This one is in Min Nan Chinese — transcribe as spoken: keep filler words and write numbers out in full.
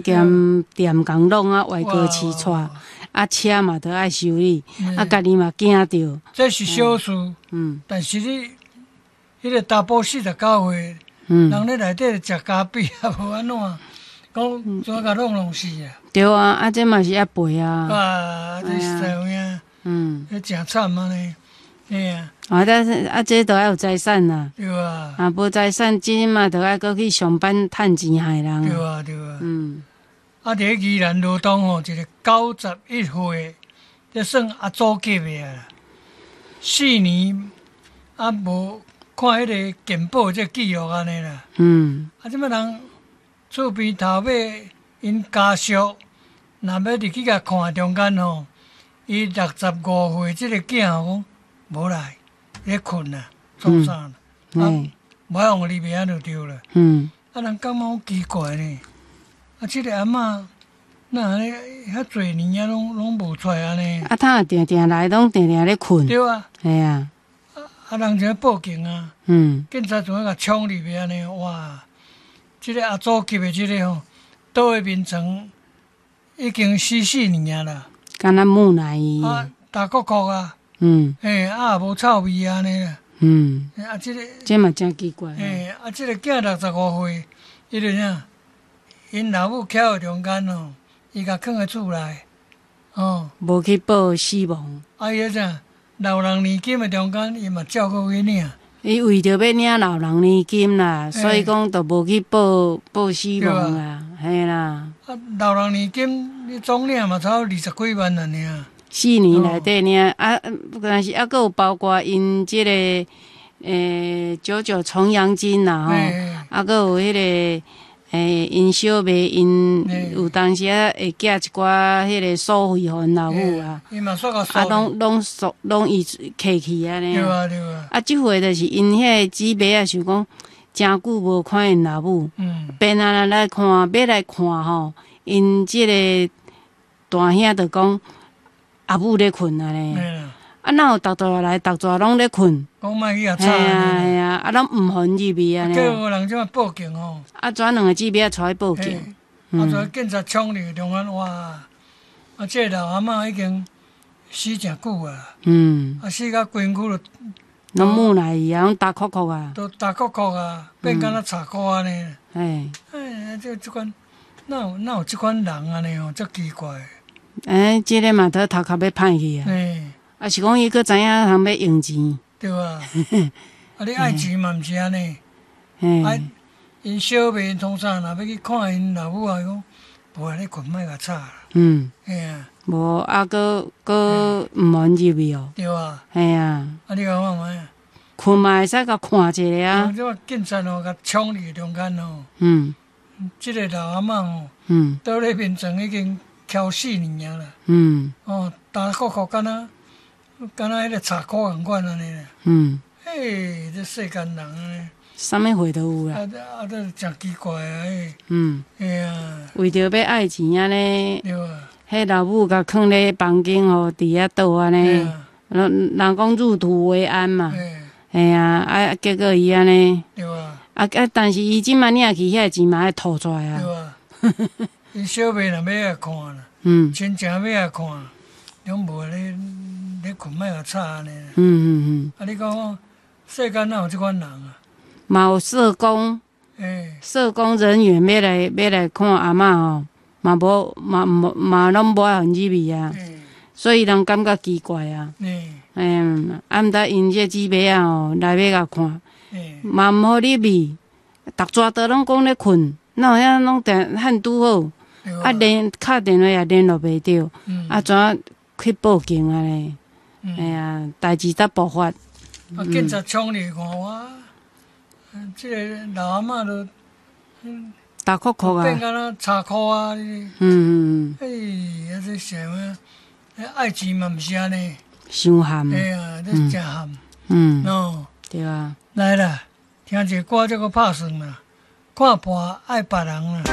兼店共弄啊，外国市带，啊車嘛都愛修理，啊家己嘛驚著。這是小事，嗯，但是你彼個查埔四十九歲，嗯，人咧內底食咖啡啊，無按怎，講怎共弄弄死啊？對啊，啊這嘛是愛賠啊。啊，這實在有影，嗯，這誠慘按呢，嘿啊。啊，但是啊，這都愛有財產啦。對啊。啊，無財產，這嘛著愛閣去上班趁錢害人。對啊，對啊。嗯。啊，佇咧宜蘭羅東吼，一個九十一歲，這算阿祖級的啊。四年啊，無看彼個健保這記錄按呢啦。嗯。啊，這擺人厝邊頭尾𪜶家屬，若欲入去共看中間吼，伊六十五歲這個囝吼講無來，咧睏啊，創啥啦？啊，無愛予入去按就對啦。嗯。啊，人感覺好奇怪呢。啊，這個阿嬤哪按呢遐濟年啊，攏攏無出來按呢？啊，他若定定來，攏定定咧睏。對啊。嘿啊。啊啊，人就報警啊。嗯。警察就共衝入去按呢，哇！這個阿祖級的這個吼，倒佇眠床已經死四年啊啦。敢若木乃伊。啊，焦摳摳啊。嗯。嘿，啊也無臭味按呢啦。嗯。啊，這個。這嘛誠奇怪。嘿，啊，這個囝六十五歲，伊就啥？𪜶老母徛佇中間吼，伊共囥佇厝內，哦。無去報死亡。啊，伊彼啥老人年金的中間，伊嘛照閣去領。伊為著欲領老人年金啦，所以講就無去報報死亡啦，嘿啦。啊，老人年金你總領嘛，差不多二十幾萬按呢。四年內底領啊，但是猶閣有包括𪜶這個欸九九重陽金啦吼，啊，閣有彼個。欸，𪜶小妹𪜶有當時仔會寄一寡彼個所費予𪜶老母啊，啊，攏攏索攏伊摕去按呢。對啊對啊。啊，這回就是𪜶彼個姊妹仔想講，誠久無看𪜶老母，變啊來看，欲來看吼，𪜶這個大兄就講阿母咧睏按呢。啊，哪有逐逝來，逐逝攏咧睏？講莫去共吵。嘿啊嘿啊，啊攏毋予入去按呢。結果人這擺報警吼。啊，怎兩個姊妹仔帶去報警？啊，跩警察衝入中間，哇！啊，這個老阿嬤已經死誠久啊。嗯。啊，死甲規身軀都。攏木乃伊啊，攏焦摳摳啊。都焦摳摳啊，變敢若柴箍按呢。嘿。哎，這這款，哪有哪有這款人按呢吼，足奇怪。欸，這個嘛，都頭殼欲歹去啊。嘿。啊，是講伊閣知影通欲用錢。對啊。啊，你愛錢嘛，毋是按呢。啊，𪜶小妹創啥，若欲去看𪜶老母啊，伊講無啊，咧睏莫共吵啦。嗯。嘿啊。無啊，閣閣毋予入去哦。對啊。嘿啊。啊，你講看覓啊？睏嘛會使共看一下啊。這警察吼，共衝入中間吼。嗯。這個老阿嬤吼，嗯，倒咧眠床已經蹺四年啊啦。嗯。哦，焦摳摳，敢若敢若彼個柴箍仝款按呢啦。嗯。嘿，這世間人按呢。啥物貨都有啦。啊啊，這誠奇怪啊！嘿。嗯。嘿啊。為著欲愛錢按呢。對啊。彼老母共囥咧房間吼，佇遐倒按呢。人人講入土為安嘛。嘿啊，啊，結果伊按呢。對啊。啊啊！但是伊這擺領去遐個錢嘛愛吐出來啊。對啊。𪜶小妹若欲來看啦，嗯，親情欲來看，攏無咧咧睏莫共吵按呢。嗯嗯嗯。啊，你講世間哪有這款人啊？嘛有社工，欸社工人員欲來欲來看阿嬤吼，嘛無嘛無嘛攏無愛予入去啊，所以人感覺奇怪啊。嗯，啊，毋知𪜶這姊妹仔吼來欲共看，嘛毋予入去，逐逝都攏講咧睏，哪有遐攏定漢拄好，啊連敲電話也聯絡袂著，啊怎去報警按呢？哎呀，代誌才爆發。啊，警察衝入看我，這個老阿嬤都焦摳摳啊，變敢若柴箍啊！嗯嗯嗯。哎，啊這啥物？愛錢嘛毋是按呢。傷譀。哎呀，這誠譀。嗯。喏。對啊。來啦，聽一個歌，這閣拍算啦，看破愛別人啦。